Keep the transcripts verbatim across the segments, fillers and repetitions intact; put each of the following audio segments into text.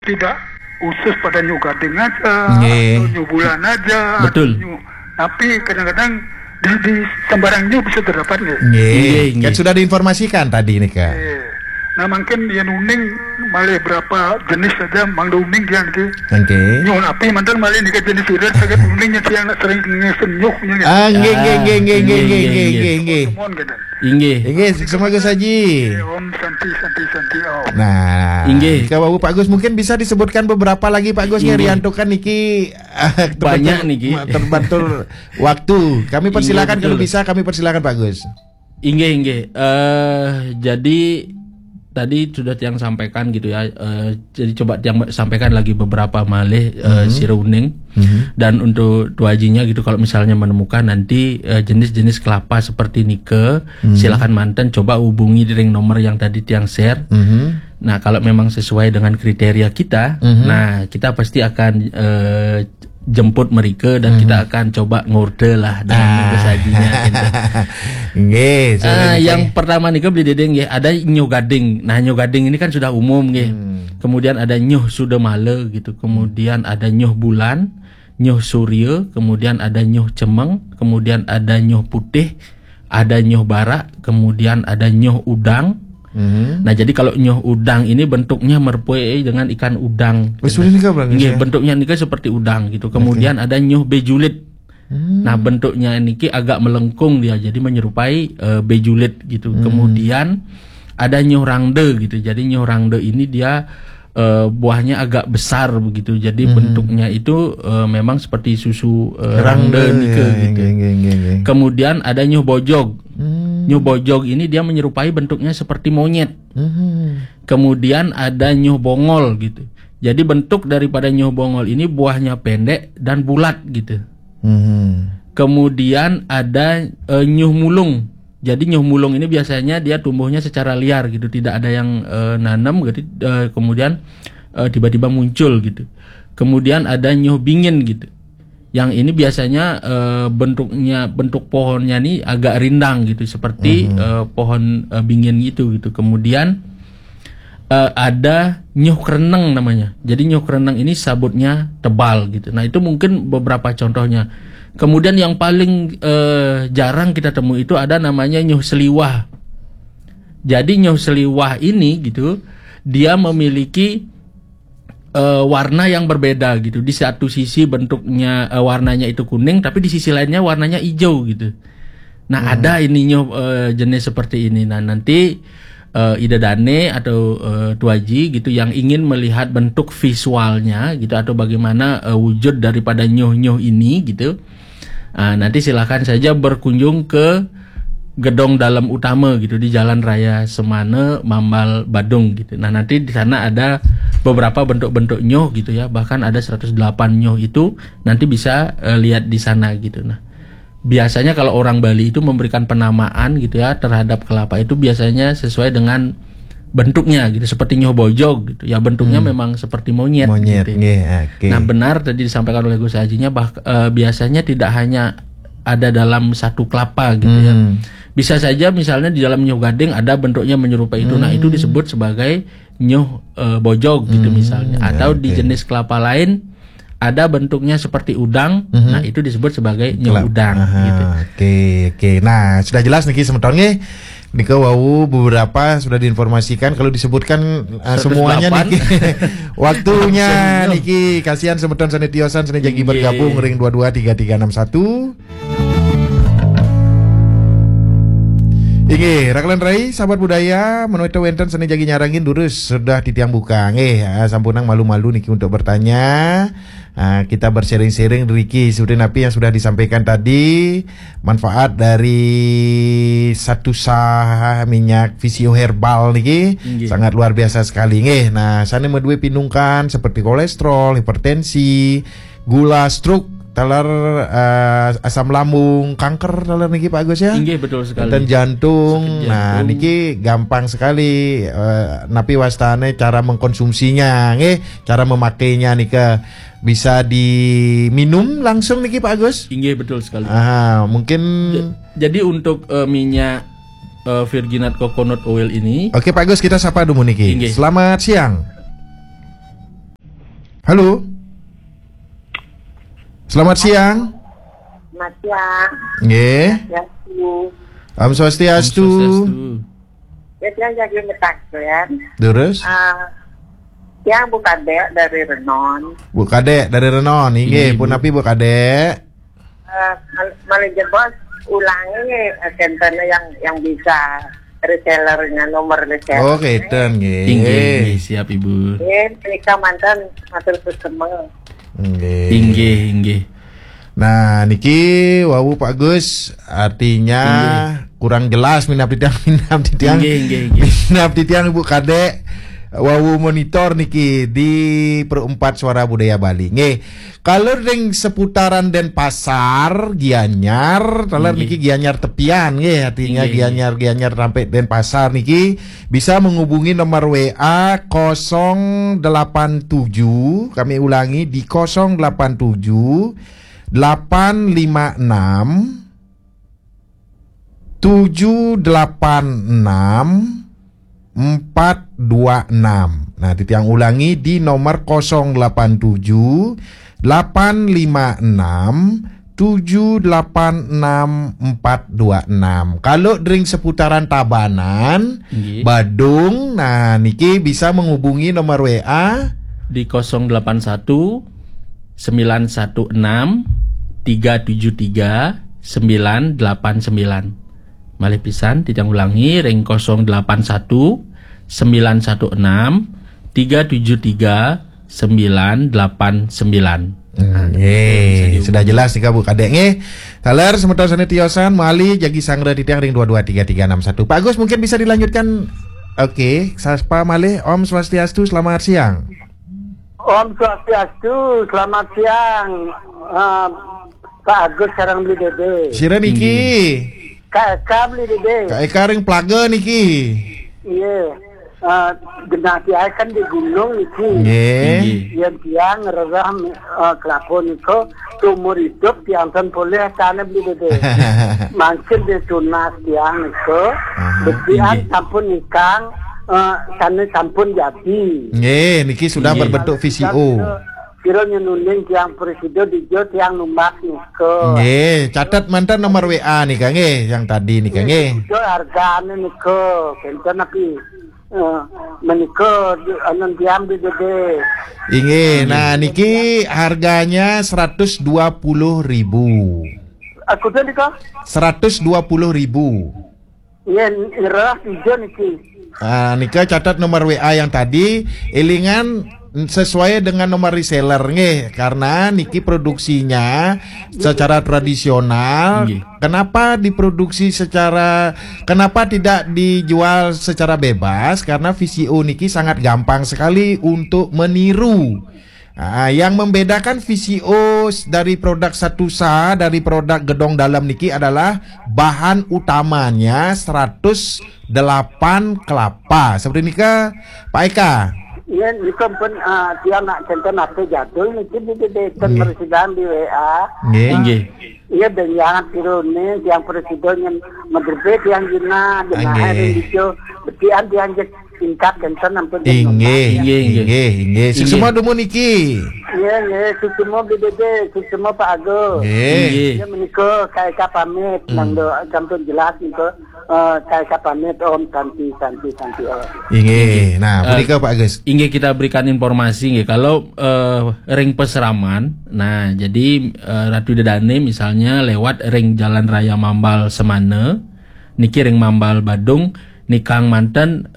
Tidak khusus pada nyoh gading aja, nggih, atau nyoh bulan aja, betul, atau nyoh, tapi kadang-kadang di, di sembarang nyoh bisa terdapat nggih. Nggih, nggih, kan nggih, sudah diinformasikan tadi nih, Kak. Nggih. Nah, mungkin yang uning malih berapa jenis saja, Mang Uning dia niki. Nggih. Nyoh napi manten malih nika jenis irit saged uning yang nak sering ngesen nyoh nya nggih. Ah, nggih, nggih, ah, nggih, nggih, nggih, nggih, nggih, nggih, nggih, nggih. Mohon gitu. Inggih. Inggih, sukses Pak Gus Haji. Om Santi, Santi, Santi, Om. Nah, inggih, jika Bapak Agus mungkin bisa disebutkan beberapa lagi, Pak Gus, nggih, nggih, riantukan niki, banyak niki. Terbantu waktu. Kami persilakan, inggih, betul, kalau bisa, kami persilakan, Pak Gus. Inggih, inggih. Eh, jadi tadi sudah tiang sampaikan gitu ya. Eh, jadi coba tiang sampaikan lagi beberapa malih, eh, sira uning. Dan untuk tuajinya gitu, kalau misalnya menemukan nanti, eh, jenis-jenis kelapa seperti nike, silakan manten coba hubungi ring nomor yang tadi tiang share. Nah, kalau memang sesuai dengan kriteria kita, nah, kita pasti akan, eh, jemput mereka dan kita akan coba ngorde lah dengan nike sajinya gitu. Nggih, yang pertama nike beli dede nggih, ada nyoh gading. Nah, nyoh gading ini kan sudah umum nggih. Kemudian ada nyoh sudamala gitu. Kemudian ada nyoh bulan, nyoh surya, kemudian ada nyoh cemeng, kemudian ada nyoh putih, ada nyoh barak, kemudian ada nyoh udang. Nah, jadi kalau nyoh udang ini bentuknya merupai dengan ikan udang. Nggih, bentuknya niki seperti udang gitu. Kemudian ada nyoh bejulit. Nah, bentuknya niki agak melengkung dia, jadi menyerupai, eh, bejulit gitu. Kemudian ada nyoh rangda gitu. Jadi nyoh rangda ini dia, eh, buahnya agak besar begitu. Jadi bentuknya itu, eh, memang seperti susu, eh, rangda nike gitu. Kemudian ada nyoh bojog. Nyoh bojog ini dia menyerupai bentuknya seperti monyet. Kemudian ada nyoh bongol gitu. Jadi bentuk daripada nyoh bongol ini buahnya pendek dan bulat gitu. Kemudian ada, eh, nyoh mulung. Jadi nyoh mulung ini biasanya dia tumbuhnya secara liar gitu, tidak ada yang, eh, nanam gitu. Eh, kemudian, eh, tiba-tiba muncul gitu. Kemudian ada nyoh bingin gitu. Yang ini biasanya, eh, bentuknya, bentuk pohonnya nih agak rindang gitu, seperti, eh, pohon, eh, bingin gitu gitu. Kemudian, eh, ada nyoh kereneng namanya. Jadi nyoh kereneng ini sabutnya tebal gitu. Nah, itu mungkin beberapa contohnya. Kemudian yang paling, eh, jarang kita temui itu ada namanya nyoh seliwah. Jadi nyoh seliwah ini gitu, dia memiliki, eh, warna yang berbeda gitu. Di satu sisi bentuknya, eh, warnanya itu kuning, tapi di sisi lainnya warnanya hijau gitu. Nah, ada ini nyoh, eh, jenis seperti ini. Nah, nanti, eh, Ida Dane atau, eh, Tuaji gitu yang ingin melihat bentuk visualnya gitu atau bagaimana, eh, wujud daripada nyoh-nyoh ini gitu. Ah, nanti silakan saja berkunjung ke gedung dalam utama gitu di Jalan Raya Semana, Mambal, Badung gitu. Nah, nanti di sana ada beberapa bentuk-bentuk nyoh gitu ya. Bahkan ada seratus delapan nyoh itu nanti bisa, eh, lihat di sana gitu. Nah, biasanya kalau orang Bali itu memberikan penamaan gitu ya terhadap kelapa itu biasanya sesuai dengan bentuknya gitu, seperti nyoh bojog gitu. Ya, bentuknya memang seperti monyet gitu. Monyet, nggih, oke. Nah, benar tadi disampaikan oleh Gus Hajinya bah-, eh, biasanya tidak hanya ada dalam satu kelapa gitu ya. Bisa saja misalnya di dalam nyoh gading ada bentuknya menyerupai itu. Nah, itu disebut sebagai nyoh, eh, bojog gitu misalnya. Atau di jenis kelapa lain ada bentuknya seperti udang, nah, itu disebut sebagai nyoh udang gitu. Oke, oke. Nah, sudah jelas niki semeton nggih. Nika wau beberapa sudah diinformasikan, kalau disebutkan, eh, semuanya niki. Waktunya niki kasihan semeton sane tiosan sane jagi bergabung ring dua dua tiga tiga enam satu. Inggih, Raklan Rai, sahabat budaya, menawi wenten sane jagi nyarengin durus sudah titiang buka. Nggih, ah, sampunang malu-malu niki untuk bertanya. Ah, kita bersharing-sharing riki seperti napi yang sudah disampaikan tadi, manfaat dari satu sah minyak Visio Herbal niki sangat luar biasa sekali nggih. Nah, sane medue pinungkan seperti kolesterol, hipertensi, gula, stroke, taler, eh, asam lambung, kanker taler niki Pak Agus ya. Inggih, betul sekali. Dan jantung. Sakit jantung. Nah, niki gampang sekali, eh, napi wastane cara mengkonsumsinya nggih, cara memakainya nika bisa diminum langsung niki Pak Agus. Inggih, betul sekali. Ah, mungkin. Ja-, jadi untuk, eh, minyak, eh, virginat coconut oil ini. Oke Pak Agus, kita sapa dulu niki. Inggih. Selamat siang. Halo. Selamat siang. Selamat siang. Nggih. Ya, Bu. Om Swastiastu. Swastiastu. Ya, saya jadi ngetak ya. Terus? Ah, yang Bu Kadek dari Renon. Bu Kadek dari Renon, inggih. Inggih, Pun Bu. Napi Bu Kadek? Eh, mal- malih jebos ulangi eh, centernya yang yang bisa resellernya, nomor reseller. Oh, keten nggih. Inggih, inggih, siap Ibu. Eh, menika mantan matur suksema. Nggih. Inggih, inggih. Nah, niki wau Pak Gus, artinya kurang jelas minab titiang, minab titiang. Inggih, inggih, inggih. Minab titiang Ibu Kadek, wau monitor niki di Perempat Suara Budaya Bali. Nggih. Kalau ring seputaran Denpasar, Gianyar, taler Inggih. niki Gianyar tepian nggih, artinya Inggih, Gianyar Gianyar sampai Denpasar niki bisa menghubungi nomor W A kosong delapan tujuh, kami ulangi di kosong delapan tujuh delapan lima enam tujuh delapan enam empat dua enam. Nah, titiang ulangi di nomor kosong delapan tujuh delapan lima enam tujuh delapan enam empat dua enam. Kalau ring seputaran Tabanan, Nggih. Badung, nah niki bisa menghubungi nomor W A Di kosong delapan satu sembilan satu enam tiga tujuh tiga sembilan delapan sembilan. Malih pisan, titiang ulangi, ring kosong delapan satu sembilan satu enam tiga tujuh tiga sembilan delapan sembilan. Hmm, eh, sudah jelas nih Bu Kadek nggih. Taler semeton sane tiosan malih jagi sanggra titiang ring dua dua tiga tiga enam satu. Pak Agus, mungkin bisa dilanjutkan. Oke, sapa malih? Om Swastiastu, selamat siang. Om Swastiastu, selamat siang. Eh, Pak Agus sareng Beli Dede. Sira niki. Kak Eka Beli Dede. Kak Eka ring Plaga niki. Iya. Eh, genah tiang kan di gunung niki. Nggih. Inggih. Yen tiang ngrereh eh, kelapa nika, seumur hidup tiang ten polih tane Beli Dede. Mangkin di tunas tiang nika, Aha. betian Inggih. Sampun nikang, eh, sane sampun jadi. Nggih, niki sudah Nggih. berbentuk V C O. Kira nyenuning tiang presida dijo tiang numbak nika. Nggih, catet manten nomor W A nika nggih, yang tadi nika nggih. Itu hargane nika, kenten tapi eh, menika di- anun tiang Beli Dede. Inggih, nah niki harganya seratus dua puluh ribu. Aku tu nika, Seratus dua puluh ribu. ya ngerah tiga niki. Ah, nika catat nomor W A yang tadi, elingan sesuai dengan nomor reseller nggih, karena niki produksinya secara tradisional. Nggih. Kenapa diproduksi secara, kenapa tidak dijual secara bebas? Karena V C O niki sangat gampang sekali untuk meniru. Ah, yang membedakan V C O dari produk Satusa dari produk gedong dalam niki adalah bahan utamanya seratus delapan kelapa. Seperti nika, Pak Eka. Ya, nika pun uh, tiang nak kenten apa jadul niki di di di Nggih. Mersidan di W A. Nggih. Inggih. Iya, dan jangan tiru ni, yang presiden yang menerbit yang gina, dengan Nggih. hari itu, betian dianjek tingkat kenten ampun. Inggih, Inggih, inggih. inggih, inggih. Suksma dumun niki. Iya, iya, suksma Beli Dede, suksma Pak Agus. Nggih. Inggih. Ya, menika Kak Eka pamit, Hmm. nang do sampun jelas nika, eh, Kak Eka pamit, Om, Santi, Santi, Santi, Om. Inggih. Nah, Eh, punika Pak Agus. Inggih, kita berikan informasi nggih. Kalau eh, ring Pasraman, nah jadi eh, Ratu Ida Dane misalnya lewat ring Jalan Raya Mambal Semana, niki ring Mambal Badung, nikang manten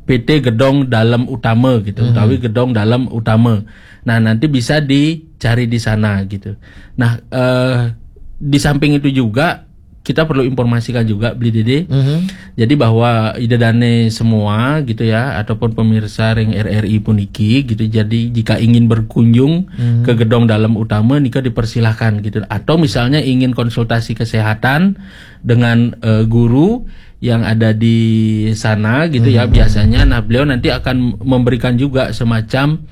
P T Gedong Dalem Utama gitu, Mhm. utawi Gedong Dalem Utama. Nah, nanti bisa dicari di sana gitu. Nah, eh, di samping itu juga kita perlu informasikan juga, Beli Dede. Mhm. Jadi bahwa Ida Dane semua gitu ya, ataupun pemirsa ring R R I puniki gitu. Jadi jika ingin berkunjung Mhm. ke Gedong Dalem Utama, nika dipersilahkan gitu. Atau misalnya ingin konsultasi kesehatan dengan eh, guru yang ada di sana gitu ya, Mhm. biasanya, nah, beliau nanti akan memberikan juga semacam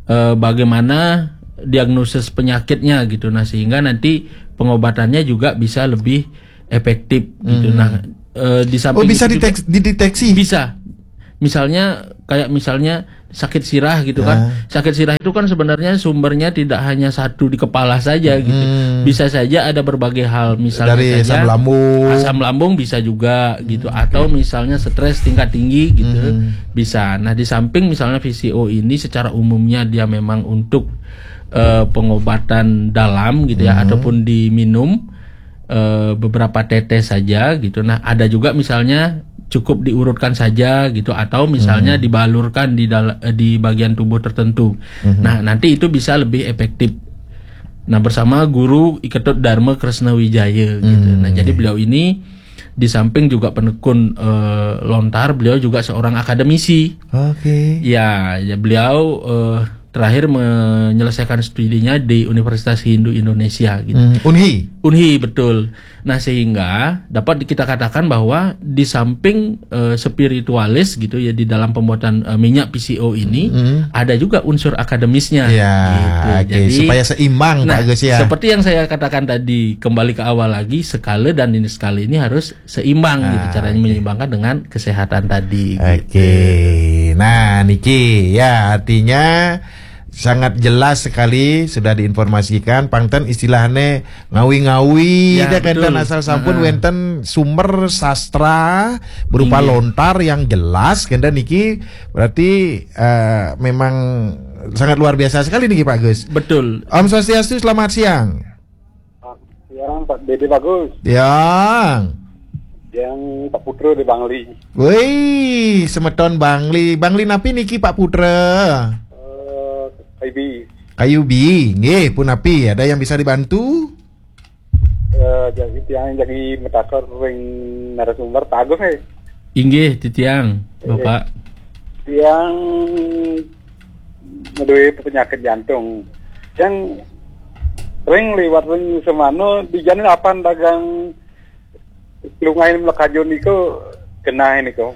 eh, bagaimana diagnosis penyakitnya gitu. Nah, sehingga nanti pengobatannya juga bisa lebih efektif gitu. Mhm. Nah, eh, di Oh, samping bisa itu juga dideteksi, dideteksi. Bisa. Misalnya, kayak misalnya sakit sirah gitu kan. Ah. Sakit sirah itu kan sebenarnya sumbernya tidak hanya satu di kepala saja gitu. Hmm. Bisa saja ada berbagai hal, misalnya Dari saja asam lambung. asam lambung bisa juga gitu, atau misalnya stres tingkat tinggi gitu, Hmm. bisa. Nah, di samping misalnya V C O ini secara umumnya dia memang untuk eh, pengobatan dalam gitu ya, Hmm. ataupun diminum eh, beberapa tetes saja gitu. Nah, ada juga misalnya cukup diurutkan saja gitu, atau misalnya Hmm. dibalurkan di dal- eh, di bagian tubuh tertentu. Hmm. Nah, nanti itu bisa lebih efektif. Nah, bersama Guru I Ketut Dharma Kresna Wijaya gitu. Hmm. Nah, jadi beliau ini di samping juga penekun eh, lontar, beliau juga seorang akademisi. Oke. Ya, ya, beliau eh, terakhir menyelesaikan studinya di Universitas Hindu Indonesia gitu. Hmm, Unhi. Unhi, betul. Nah, sehingga dapat kita katakan bahwa di samping eh, spiritualis gitu ya, di dalam pembuatan eh, minyak V C O ini, Hmm. ada juga unsur akademisnya. Ya, gitu. oke, Jadi, supaya seimbang, nah, Pak Agus, ya. Seperti yang saya katakan tadi, kembali ke awal lagi, sekala dan ini sekala ini harus seimbang gitu, Ah, caranya oke. menyeimbangkan dengan kesehatan tadi. Oke. Gitu. Nah, niki ya, artinya sangat jelas sekali sudah diinformasikan. Pangten istilahnya ngawi-ngawi, Ya, dia kenten betul. Asal sampun Heeh. Wenten sumber sastra berupa Iya. Lontar yang jelas, kenten niki berarti eh, memang sangat luar biasa sekali niki, Pak Gus. Betul. Om Swastiastu, selamat siang. Siang, Pak Dede Bagus. Yang Yang Pak Putra di Bangli. Wih, semeton Bangli. Bangli napi niki, Pak Putra? Eh, Ibi. Kayubi, nggih, punapi, ada yang bisa dibantu? Eh, jadi tiang jadi metakar ring narasumber Pak Agus, eh. Inggih, titiang, Bapak. Tiang ngeduwe penyakit jantung. Yang ring liwat ring semana di jalan apan dagang lungain melekajo niku genah niku.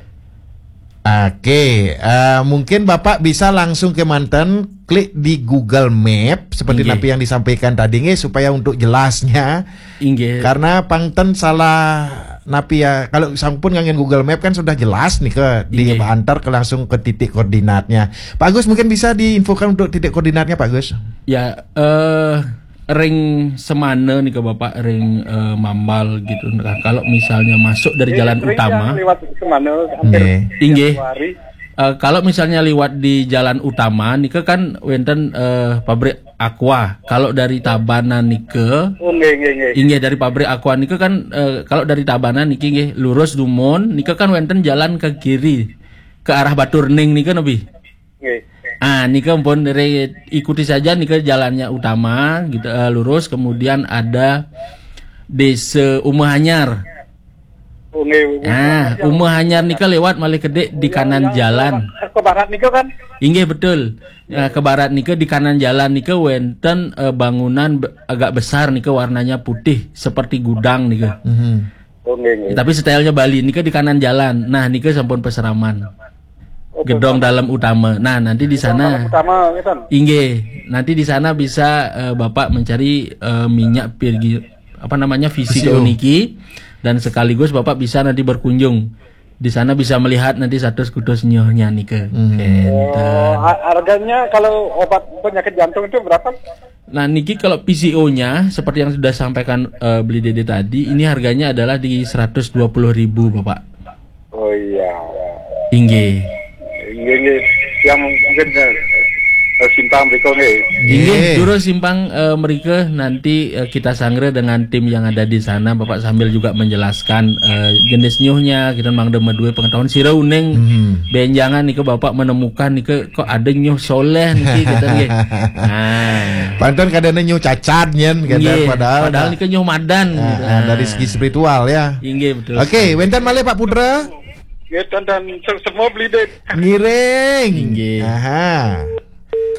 Oke, eh, mungkin Bapak bisa langsung ke manten, klik di Google Map seperti Inggih. napi yang disampaikan tadi, nggih, supaya untuk jelasnya. Inggih. Karena pangten salah napi ya, kalau sampun nganggen Google Map kan sudah jelas nih ke Inggih. diantar ke langsung ke titik koordinatnya. Pak Agus, mungkin bisa diinfokan untuk titik koordinatnya, Pak Agus? Ya, eh ring semana nih ke Bapak, ring eh, Mambal gitu. Nah, kalau misalnya masuk dari jalan Ring utama, yang lewat semana hampir Nggih. Inggih. tiap hari. Eh, kalau misalnya liwat di jalan utama nika kan wenten eh, pabrik Aqua. Kalau dari Tabanan nika, Oh, nggih, nggih, nggih. inggih, dari pabrik Aqua nika kan eh, kalau dari Tabanan niki nggih lurus dumun nika kan wenten jalan ke kiri, ke arah Baturning nika nabi. Nggih. Ah, nika pun re- ikuti saja nika jalannya utama gitu, eh, lurus, kemudian ada Desa Umah Anyar. Oh, nggih. Ah, Umah Anyar nika lewat malih kedek di kanan jalan. Ke barat niku kan? Inggih, betul. Nah, ke barat nika di kanan jalan nika wenten eh, bangunan be- agak besar nika warnanya putih seperti gudang nika. Mhm. Oh, nggih, nggih. Tapi stylenya Bali nika di kanan jalan. Nah, nika sampun peseraman. Oh, Gedong dalam utama. Nah, nanti di sana. Utama ngeten. Inggih, nanti di sana bisa eh, Bapak mencari eh, minyak virgi apa namanya V C O V C O. niki, dan sekaligus Bapak bisa nanti berkunjung. Di sana bisa melihat nanti status kutus nyohnya nika. Hmm. Enten. Oh, ha- harganya kalau obat penyakit jantung itu berapa? Nah, niki kalau V C O-nya seperti yang sudah sampaikan eh, Beli Dede tadi, ini harganya adalah di seratus dua puluh ribu, Bapak. Oh, iya. Inggih. Nggih, nggih. Yang mungkin eh, simpang mriku nggih. Inggih, Nggih. Juru Simpang eh, mrika nanti eh, kita sanggra dengan tim yang ada di sana. Bapak sambil juga menjelaskan eh, jenis nyuhnya, kita mangda maduwe pengetahuan sira uning. Mhm. Benjangan nika Bapak menemukan nika kok ada nyuh soleh niki gitu nggih. Nah. Panten kadang nyuh cacat nyen, kadang Nggih, padahal, padahal nika nyuh madan Ah, gitu. ah, dari segi spiritual ya. Inggih, betul. Oke, wenten malih Pak Putra. Nggih, dan, dan se- semua beli deh. Ngiring. Inggih. Aha.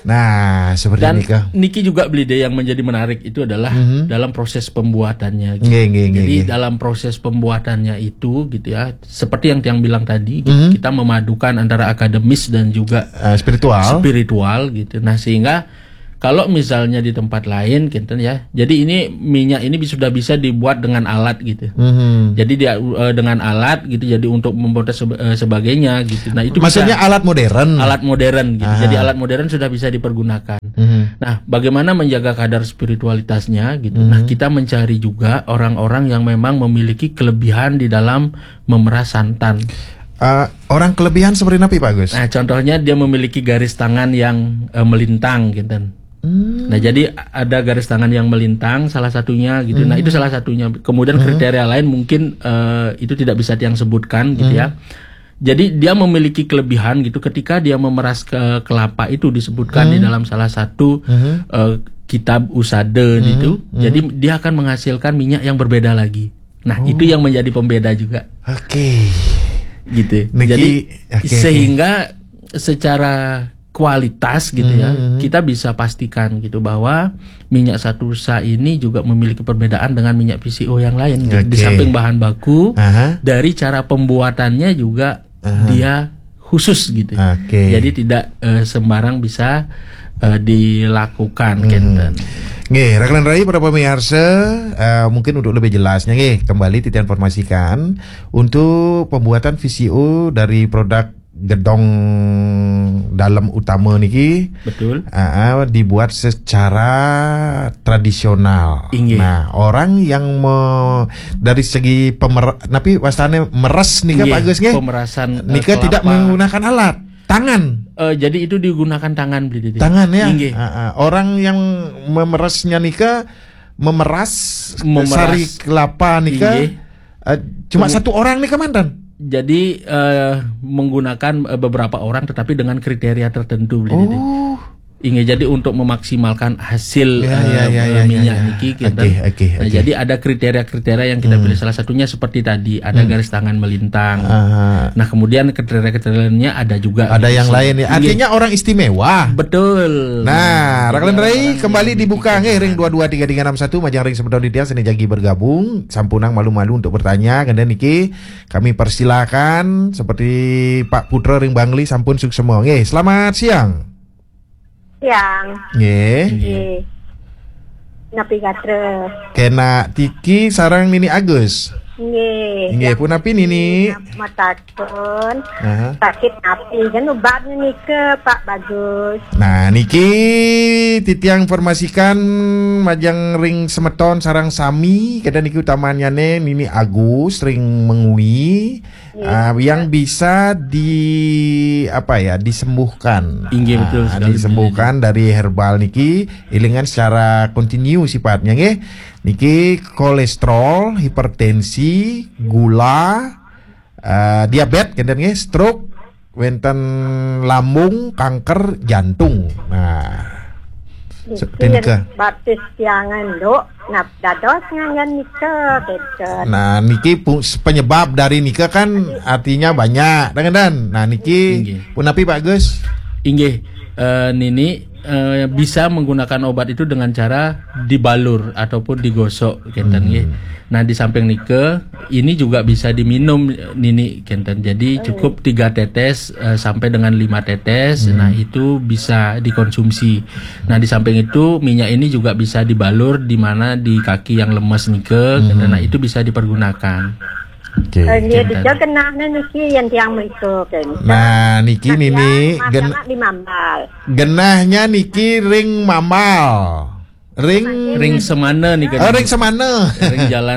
Nah, seperti Dan ini kah? niki juga Beli Dede yang menjadi menarik itu adalah Mhm. dalam proses pembuatannya. Nggih, nggih, nggih, Jadi nggih. Dalam proses pembuatannya itu gitu ya, seperti yang Tiang bilang tadi, Mhm. kita memadukan antara akademis dan juga Eh, spiritual. spiritual gitu. Nah, sehingga Kalau misalnya di tempat lain, kinten ya. Jadi ini minyak ini bi- sudah bisa dibuat dengan alat gitu. Mhm. Jadi dia eh, dengan alat gitu, jadi untuk membuat sebe- eh, sebagainya gitu. Nah, itu Maksudnya bisa alat modern. Alat modern gitu. Aha. Jadi alat modern sudah bisa dipergunakan. Mhm. Nah, bagaimana menjaga kadar spiritualitasnya gitu? Nah, Mhm. kita mencari juga orang-orang yang memang memiliki kelebihan di dalam memeras santan. Eh, orang kelebihan seperti apa, Pak Gus? Nah, contohnya dia memiliki garis tangan yang eh, melintang gitu. Hmm. Nah, jadi ada garis tangan yang melintang salah satunya gitu. Nah, itu salah satunya. Kemudian kriteria lain mungkin eh, itu tidak bisa yang sebutkan gitu ya. Jadi dia memiliki kelebihan gitu, ketika dia memeras ke kelapa itu disebutkan di dalam salah satu Mhm. eh, kitab usade gitu. Mhm. Jadi dia akan menghasilkan minyak yang berbeda lagi. Nah, Oh. itu yang menjadi pembeda juga Oke. gitu. Niki, Jadi oke, oke. sehingga secara kualitas gitu ya, Mhm. kita bisa pastikan gitu bahwa minyak satusa ini juga memiliki perbedaan dengan minyak V C O yang lain gitu. Di Oke. samping bahan baku, Aha. dari cara pembuatannya juga Aha. dia khusus gitu. Oke. Jadi tidak eh, sembarang bisa eh, dilakukan Hmm. kinten. Nggih, rakan rai para pemirsa, eh, mungkin untuk lebih jelasnya nggih, kembali kita informasikan untuk pembuatan V C O dari produk gedong dalam utama niki Betul. ah, ah, dibuat secara tradisional. Inggih. Nah, orang yang me, dari segi pemer, napi wastane meres nika Inggih, Pak Gus nggih? pemerasan, eh, Nika tidak kelapa. menggunakan alat, tangan. Eh, jadi itu digunakan tangan, Beli Dede. Tangan ya. Inggih. Ah, ah. Orang yang memeresnya nika memeras, Memeras. sari kelapa nika. Inggih. Eh, cuma satu orang nika mantan. Jadi eh, menggunakan eh, beberapa orang, tetapi dengan kriteria tertentu, Beli Dede. Oh. Inggih, jadi untuk memaksimalkan hasil Ya, eh, ya, ya, ya, minyak ya, ya. niki Oke, kinten. oke, Nah, oke. jadi ada kriteria-kriteria yang kita Hmm. pilih. Salah satunya seperti tadi, ada Hmm. garis tangan melintang. Aha. Nah, kemudian kriteria-kriteria lainnya ada juga. Ada Gitu yang sih. lain ya. Inggih. Artinya orang istimewa. Betul. Nah, Jadi rakan rai orang-orang kembali yang dibuka memiliki nggih ring kebutuhan. dua dua tiga tiga enam satu majang ring semeton titiang seni jagi bergabung, sampunang malu-malu untuk bertanya, kemudian niki kami persilakan seperti Pak Putra ring Bangli sampun suksema. Nggih, selamat siang. Siang. Nggih. Nggih. Nggih. Napi gatra? Kena Tiki sareng Nini Agus. Nggih. Nggih, punapi Nini? Matakun. Aha. Sakit napi kan ubatnya nika Pak Bagus. Nah, niki titiang informasikan majang ring semeton sareng sami, kemudian niki utamanyane Nini Agus ring Mengwi. Ah, yang bisa di apa ya, disembuhkan. Inggih, betul Ah, sekali, disembuhkan dari herbal niki, ilingan secara kontinu sifatnya nggih. Niki kolesterol, hipertensi, gula, eh, diabetes, kemudian nggih, stroke, wenten lambung, kanker, jantung. Nah, Niki seperti nika. Batis tiangan dok. Nah, dados nganggen nika gitu. Nah, niki pu- penyebab dari nika kan artinya banyak, dengan dan. Nah, niki Inggih. punapi Pak Gus? Inggih, eh, Nini eh, bisa menggunakan obat itu dengan cara dibalur ataupun digosok, kinten nggih. Nah, di samping nika, ini juga bisa diminum, Nini, kinten. Jadi cukup tiga tetes eh, sampai dengan lima tetes. Nah, itu bisa dikonsumsi. Nah, di samping itu, minyak ini juga bisa dibalur di mana di kaki yang lemes nika, kinten. Nah, itu bisa dipergunakan. Oke. Eh, nggih, Kinten. dija genahnya niki yang tiang mriku kan. Nah, niki Nini Mas gen, anak di Mambal. genahnya niki ring Mambal. Ring Ring semana nih kan. Oh, ring semana. Ring jalan